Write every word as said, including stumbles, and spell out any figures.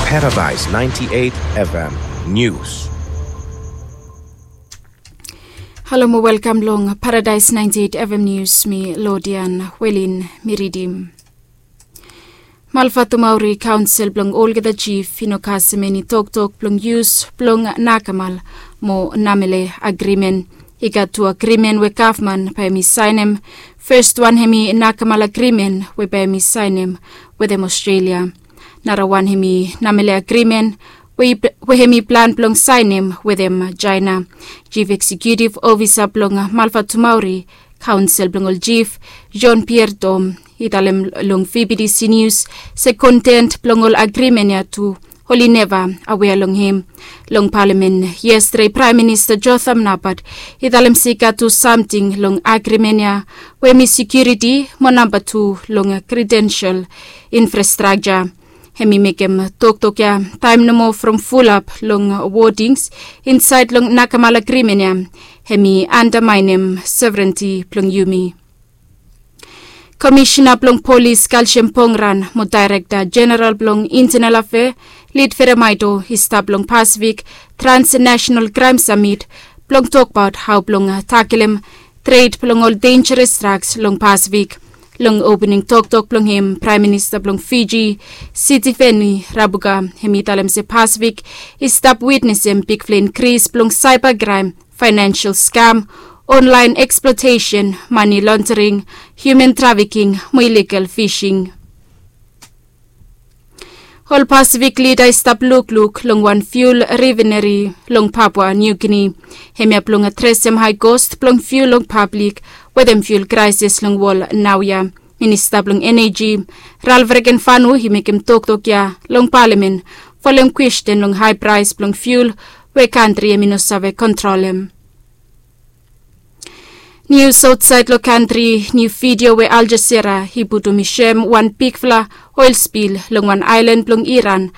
Paradise ninety-eight F M News. Halo mo welkam long Paradise ninety-eight F M News, mi Lodian Welin mi ridim. Malfatumauri kaonsel blong olgeta jif i no kasem eni toktok blong yus blong nakamal mo namele agrimen. I gat tu agrimen we gavman bae hem i saenem. Fes wan hem i nakamal agrimen we bae hem i saenem wetem Australia. Nara wan hem i namele agrimen we hem i plan blong saenem wetem Jaena. Jif eksekutiv ofisa blong Malfatumauri kaonsel blong ol jif, John Pierre Tom, i talem long V B T C News se kontent blong ol agrimen ya tu oli neva awea long hem. Long palamen yestade, Praem Minista Jotham Napat i talem se i gat tu samting long agrimen ya we hem i sekiuriti mo namba tu long kredensel infrastrakja. Hem i mekem toktok ya taem nomo from fulap long wodings insaed long nakamal agrimen ya hem i andamaenem sovrenti blong yumi. Komisena blong polis Kalsem Pongran mo daerekta jeneral blong intenal afea Lid Feremaeto i stap long Pasifik Transnasenal Kraem Samit blong tokbaot hao blong takelem tred blong ol denjeres draks long Pasifik. Long opening toktok blong hem, Praem Minista blong Fiji Sitiveni Rabuka hem i talem se Pasifik i stap witnesem bigfala inkris blong saeba kraem, faenensel skam, onlaen eksplotesen, mane londering, hiuman trafiking mo iligal fising. Ol Pasifik lida i stap lukluk long wan fiul rifineri long Papua Niu Gini. Hemia blong adresem hae kost blong fiul long pablik wetem fiul kraeses long wol naoia. Minista blong eneji Ralf Regenvanu i mekem toktok ya long palamen folem kwesten long hae praes blong fiul we kantri hem i no save kontrolem. Nius aotsaed long kantri, niu vidio we Al Jazeera i putum i soem wan bigfala oel spil long wan aelan blong Iran